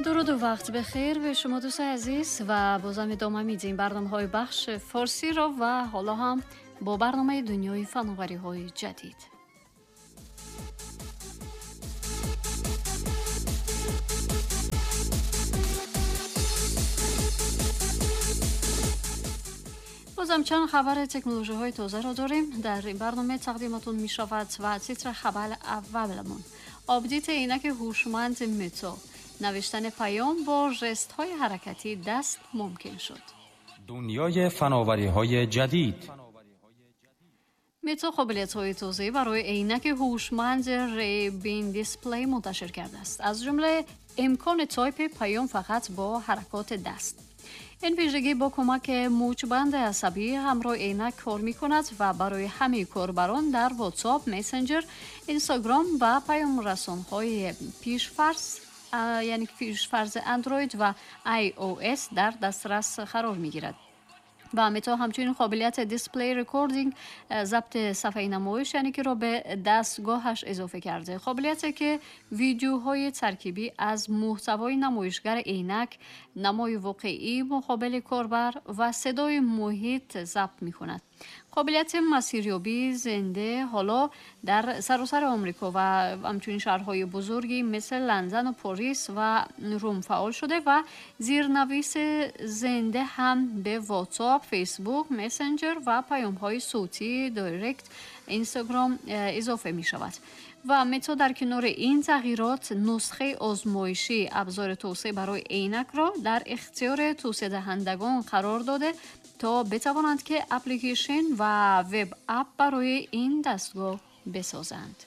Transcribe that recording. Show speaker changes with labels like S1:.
S1: Дуруду вақт бехир ба шумо, дӯстои азиз, ва бозам идома медиҳем барномаҳои бахш форсиро ва ҳоло ҳам бо барномаи дунёи фановариҳои ҷадид. Бозам чанд хабари технологияҳои тозаро дорем дар ин барнома тақдиматон мешавад ва титри хабар авваламон: апдейти эйнаки ҳушманд Мета, навиштани паём бо жестҳои ҳаракатии даст мумкин шуд.
S2: Дунёи фановариҳои ҷадид.
S1: Мета қобилиятҳои тозае барои эйнаки ҳушманд Ray-Ban Display мунташир кардааст, аз ҷумла имкони тайпи паём фақат бо ҳаракоти даст. Ин вижагӣ бо кӯмаки мӯчбанди асабӣ ҳамроҳи эйнак кор мекунад ва барои ҳамаи корбарон дар WhatsApp, Messenger, Instagram ва паёмрасонҳои пешфарз, яъне пешфарзи Android ва iOS дар дастрас қарор мегирад. Ва Мета ҳамчунин қобилияти display recording, забти сафҳаи намоиш, яъне ки ро ба дастгоҳаш изофа карда, қобилияте ки видеоҳои таркибӣ аз муҳтавои намоишгари эйнак, намои воқеӣ муқобили корбар ва садои муҳит забт мекунад. Қобилияти масирёбии зинда ҳоло дар саросари Омрико ва ҳамчунин шаҳрҳои бузурги мисли Лондан, Порис ва Рум фаъол шуда ва зирнависи зинда ҳам ба WhatsApp, Facebook, Messenger ва паёмҳои савтии Direct Instagram изофа мешавад. Ва Мета дар канори ин тағйирот нусхаи озмоишии абзори тавсеа барои эйнакро дар ихтиёри тавсеадиҳандагон қарор дода то битавонанд ки апликейшн ва web app барои ин дастгоҳ бисозанд.